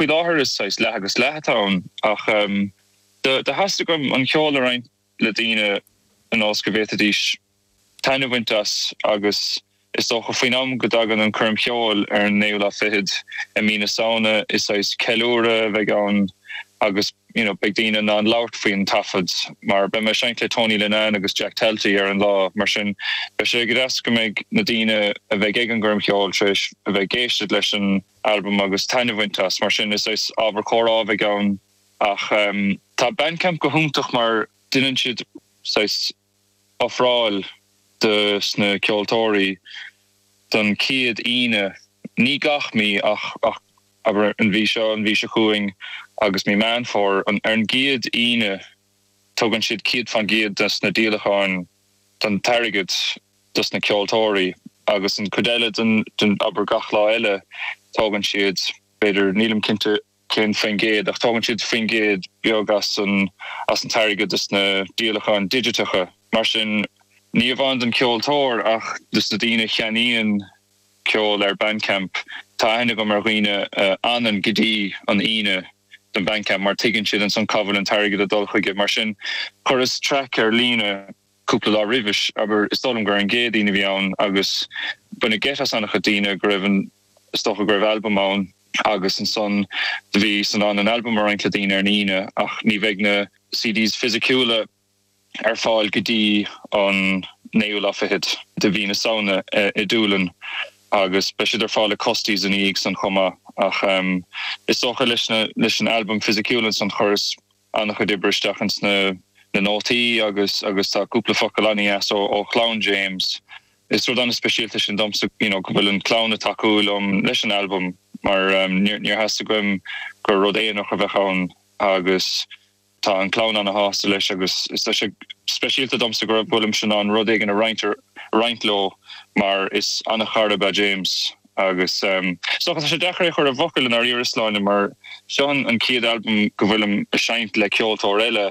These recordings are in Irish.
Faoi láthair is saghas leath agus leath atá ann ach do theastaigh uaim an ceol a roinnt le daoine ionas go bhféadfaidís taitneamh a bhaint as agus is dócha faoin am go dtagann an coirm cheoil ar an naoú lá fichead i mí na Samhna is saghas ceiliúradh a bheidh ann agus you know beidh daoine in ann labhairt faoin taifead mar beidh mé ag seinnt le Tony Linnane agus Jack Talty ar an lá mar sin beidh sé go deas go mbeidh na daoine a bheidh ag an gcoirm cheoil tar éis a bheith ag éisteacht leis an albam agus taitneamh a bhaint as mar sin is saghas ábhar comhrá a bheidh ann ach tá Bandcamp go hiontach mar déanann siad saghas ofráil do sna ceoltóirí don chéad Aoine, ní gach mí ach abair an mhí seo, an mhí seo chugainn agus mí Meán Fómhair, ar an gcéad Aoine tugann siad 100% de sna díolacháin den t-airgead dos na ceoltóirí agus an chuid eile den, abair gach lá eile tógann siad b'fhéidir, nílim cinnte. cén faoin gcéad, ach tógann siad faoin gcéad beag as an as an t-airgead dos na díolacháin digiteacha. Mar sin, ní amháin don cheoltóir ach dos na daoine a cheannaíonn ceol ar Bandcamp. Tá aithne agam ar dhaoine a fhanann go dtí an Aoine don Bandcamp mar tuigeann siad ansan cá bhfuil an t-airgead ag dul chuige. Mar sin, chuireas traic ar líne cúpla lá roimhis, abair, is dóigh liom gur ar an gCéadaoin a bhí ann agus baineadh geit as an-chuid daoine go raibh an, is dócha go raibh albam ann agus ansan do bhíos in ann an albam a roinnt le daoine ar an Aoine ach ní bheidh na CDs fisiciúla ar fáil go dtí an naoú lá fichead de mhí na Samhna i Doolin agus beidh siad ar fáil i Custies ina dhiaidh san chomh maith ach is dócha leis na leis an albam fisiciúil ansan chuireas an-chuid oibre isteach ins na na nótaí agus agus tá cúpla focal an-dheas ó ó chlann James. Is rud an-speisialta sin domsa you know go bhfuil an clann ag tacú liom leis an albam mar níor níor theastaigh uaim gur rud aonarach a bheadh ann agus tá an clann an-shásta leis agus is tá sé speisialta domsa go bhfuilimse in ann rud éigin a roinnt a roinnt leo mar is an-chara ab ea James. Agus is dócha, tá sé deacair é a chur i bhfocail i ndáiríre, Sláine, mar seo an chéad albam go bhfuilim ag seinnt le ceoltóir eile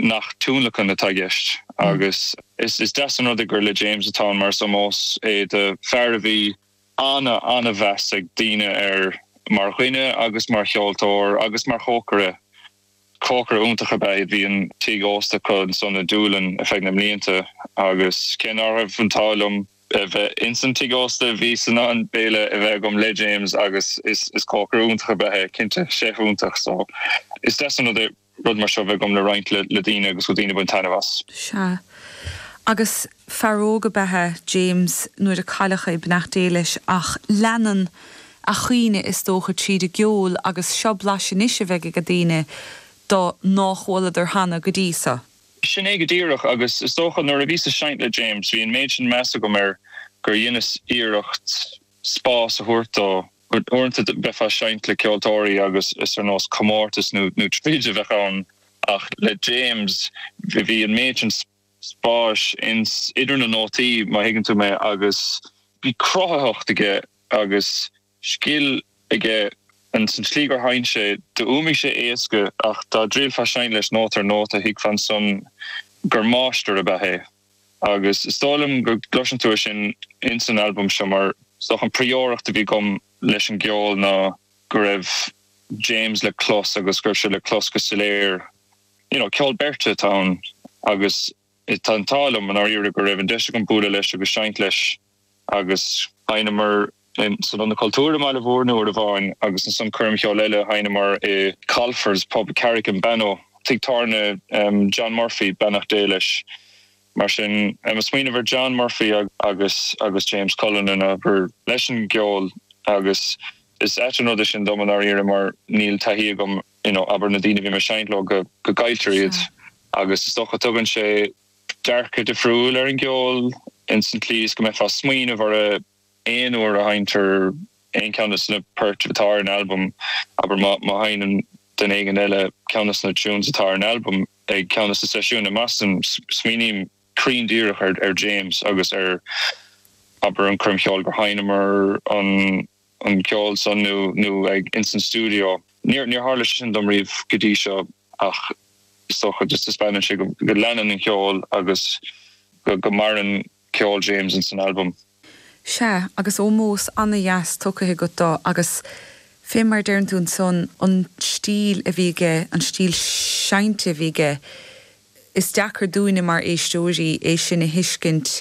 nach tionlacan atá i gceist. Agus is deas an rud é gur le James atá ann mar is ómós é do fear a bhí ana, ana-mheas ag daoine air mar dhuine agus mar cheoltóir agus mar chócaire. Cócaire iontach ab ea é. Bhí an tigh ósta acu ansan i Doolin ar feadh na mblianta agus cé ná raibh an t-ádh liom a bheith ins an tigh ósta bhíos in ann béile a bheith agam le James agus is cócaire iontach ab ea é, cinnte, chef iontach. So is deas an rud é rud mar seo a bheith agam le roinnt le daoine agus go daoine ag baint taitneamh as. Sea. Agus fear óg ab ea é James nuair a cailleadh é, beannacht Dé leis, ach leanann a chuimhne is dócha tríd an gceol agus seo blaiseadh anois a bheidh ag daoine de nár chualadar cheana go dtí so. Sin é go díreach agus is dócha nuair a bhíos ag seinnt le James bhí an méid sin meas agam air gur dheineas iarracht spás a thabhairt dó. Uaireanta bheifeá ag seinnt le ceoltóirí agus is ar nós comórtas nó troid a bheadh ann ach le James bhí an méid sin spáis ins idir na nótaí má thuigeann tú mé agus bhí cruthaitheacht aige agus scil aige ins an tslí gur sheinn sé. D'fhuaimnigh sé éasca ach dá dtriailfeá seinnt leis nóta ar nóta thuigfeá ansan gur máistir ab ea é. Agus is dóigh liom go gcloiseann tú é sin ins an albam seo mar is dócha an phríomhiarracht a bhí agam leis an gceol ná go raibh James le clos agus go raibh sé le clos go soiléir. You know, ceol beirte atá ann agus tá an t-ádh liom i ndáiríre go raibh an deis agam bualadh leis agus seinnt leis agus sheinneamar san Ionad Cultúir i mBaile Bhúirne uair amháin agus ansan coirm cheoil eile sheinneamar i Colfer's Pub Carrick in Bannow, tigh tábhairne John Murphy, beannacht Dé leis. Mar sin, ag smaoineamh ar John Murphy agus agus James Cullinan abair leis an gceol agus is ait an rud é sin dom i ndáiríre mar níl taithí agam you know abair na daoine a bhím ag seinnt leo go go gcailltear iad agus is dócha tugann sé dearcadh difriúil ar an gceol ins an tslí is go mbeifeá ag smaoineamh orthu aon uair a sheinntear aon cheann de na poirt atá ar an albam, abair má sheinneann duine éigin eile ceann de na tunes atá ar an albam ag ceann de na seisiúin i mBoston, smaoiním cruinn díreach ar James agus ar abair an choirm cheoil gur sheinneamar an an ceol san nó nó ag ins an stiúideo. Níor níor tharla sé sin dom riamh go dtí seo ach is dócha just taispeánann sé go go leanann an ceol agus go go maireann ceol James ins an albam. Sea, agus ómós ana-dheas tugtha agat dó agus. Fé mar a deireann tú ansan, an stíl a bhí aige, an stíl seinnte a bhí aige, is deacair dúinne mar éisteoirí é sin a thuiscint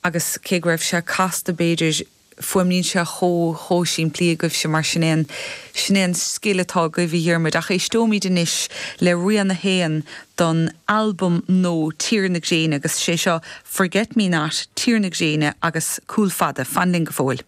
agus cé go raibh sé casta b'fhéidir, fuaimníonn sé chomh, chomh simplí agaibhse mar sin é an, sin é an scil atá agaibh a Dhiarmuid. Ach éisteoimid anois le rian a haon don albam nua Tír na Gréine agus sé seo Forget Me Not, Tír na Gréine agus Cúl Fada. Fan linn go fóill.